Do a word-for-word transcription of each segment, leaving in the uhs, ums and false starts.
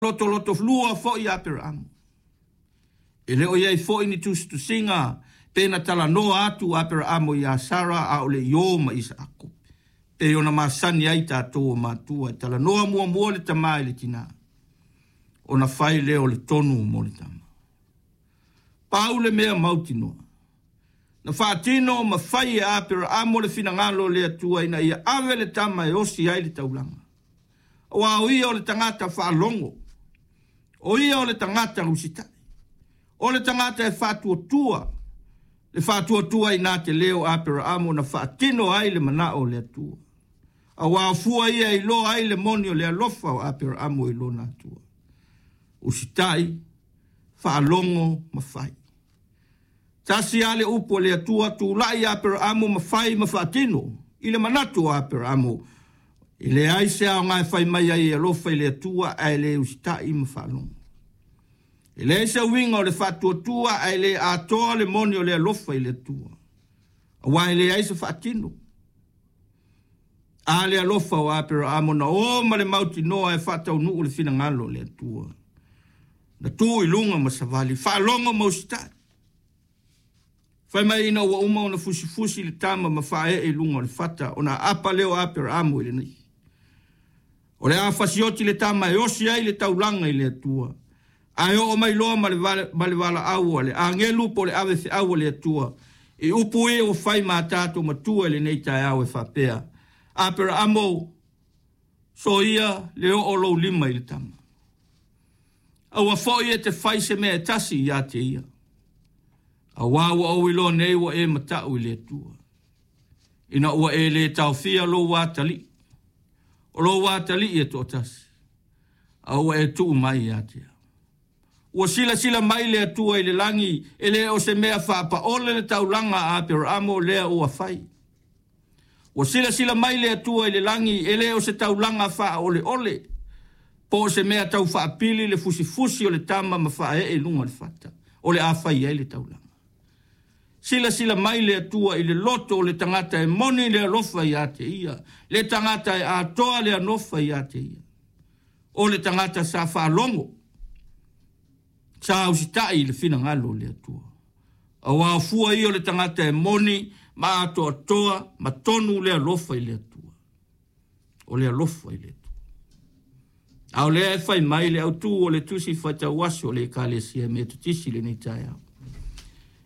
Lotoloto lua fo'i Aperamo. E le o iai fo'i ni tusitusiga pe na talanoa atu Aperamo iā Sara a o le i ō ma Isaako. Pei ona masani ai tatou o matua e talanoa muamua le tamā i le tinā, ona fai lea o le tonu mo le tama. Pau le mea mautinoa, na faatino ma fai e Aperamo le finagalo o le Atua ina ia ave le tama e osi ai le taulaga. Aua o ia o le tagata faalogo, o ia o le tagata usitai, o le tagata e faatuatua, le faatuatua ina te lē o Aperamo na faatino ai le manao o le Atua. Aua o fua ia e iloa ai le moni o le alofa o Aperamo i lona Atua. Usitai, faalogo ma fai. Tasi a le upu a le Atua, tulai Aperamo ma fai ma faatino. I le manatu o Aperamo, e leai se aoga e fai mai ai e alofa i le Atua ae le usitai ma faalogo. E leai se uiga o le faatuatua ae le atoa le moni o le alofa i le Atua. Aua e leai se faatino. A le alofa o Aperamo na o ma le mautinoa e faataunuu le finagalo o le Atua. Na tu i luga ma savali, faalogo ma usitai. Fai mai ina ua uma ona fusifusi le tama ma faaee i luga o le fata, ona aapa lea o Aperamo i lenei. O le a fasioti le tama e osi ai le taulaga i le Atua. Ae oo mai loa ma le ma le valaau a le agelu po o le ave feau a le Atua. I upu ia ua fai ma tatou matua i lenei taeao e faapea, Aperamo, soia le oo lou lima i le tama. Aua foi e te fai se mea e tasi ia te ia. Aua ua ou iloa nei ua e mata'u i le Atua. Ina ua e lē taofia lou atalii. O lou atalii e toatasi. A ua e tuu mai ia te au. Ua silasila mai le Atua i le lagi, e le o se mea faapaole le taulaga a Aperamo lea ua fai. Ua silasila mai le Atua i le lagi, e le o se taulaga faaoleole, po o se mea tau faapili le fusifusi o le tama ma faaee i luga o le fata, o le a fai ai le taulaga. Silasila mai le Atua i le loto o le tagata e moni le alofa ia te ia, le tagata e atoa le alofa ia te ia. O le tagata sa faalogo, sa usitai i le finagalo o le Atua. Aua o fua ia o le tagata e moni ma atoatoa ma tonu le alofa i le Atua. O le alofa i le Atua. A o lea e fai mai le autū o le tusi faitauaso o le Ekalesia Metotisi i lenei taeao.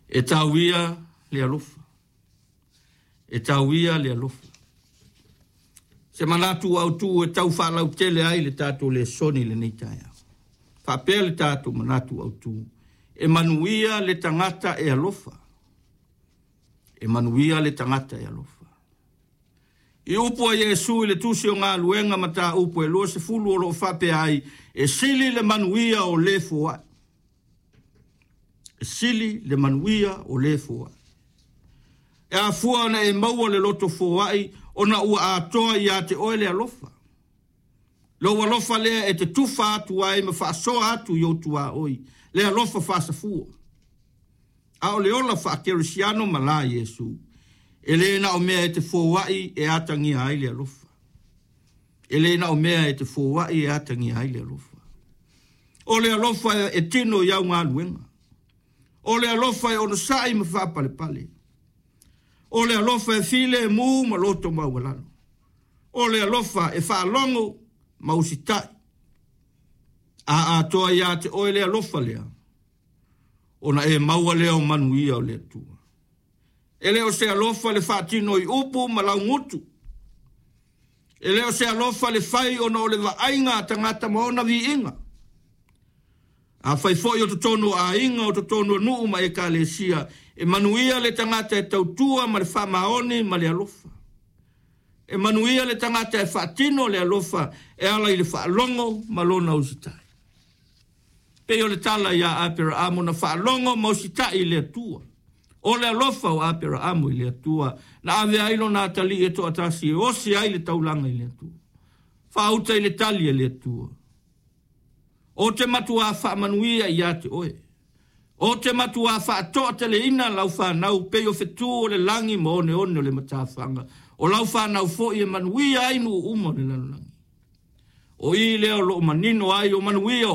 E tauia le alofa. E tauia le alofa. Se manatu autū e tau faalautele ai le tatou lesoni i lenei taeao. Faapea le tatou manatu autū. E manuia le tagata e alofa. E manuia le tagata e alofa. I upu a Iesu i le tusi o Galuega mataupu e luasefulu o loo faapea ai, e sili le manuia o le foai. E sili le manuia o le foai. E afua ona e maua le loto foai ona ua atoa ia te oe le alofa. Lou alofa lea e te tufa atu ai ma faasoa atu i ou tuaoi, le alofa faasafua. A o le ola faakerisiano ma la Iesu. E le na o mea e te foai e atagia ai le alofa. E le na o mea e te foai e atagia ai le alofa. O le alofa e tino i au galuega. O le alofa e onosai ma faapalepale. O le alofa e filemu ma loto maualalo. O le alofa e faalogo ma usitai. A atoa ia te oe le alofa lea, ona e maua lea o manuia o le Atua. E le o se alofa le faatino i upu ma laugutu. E le o se alofa le fai ona o le vaaiga a tagata ma ona viiga. A fai foi o totonu o aiga, o totonu o nuu ma ekalesia, e manuia le tagata e tautua ma le faamaoni ma le alofa. E manuia le tagata e faatino le alofa e ala i le faalogo ma lona usitai. Pei o le tala ia Aperamo na faalogo ma usitai i le Atua. O le alofa o Aperamo i le Atua, na ave ai lona atalii e toatasi e osi ai le taulaga i le Atua. Faauta i le tali a le Atua. O te matua faamanuia ia te oe. O te matua faatoateleina lau whanau pei o fetu o le lagi ma oneone o le matafaga. O lau whanau foi e manuia ai nuu uma o le lalolagi. O i lea o loo manino ai o manuia.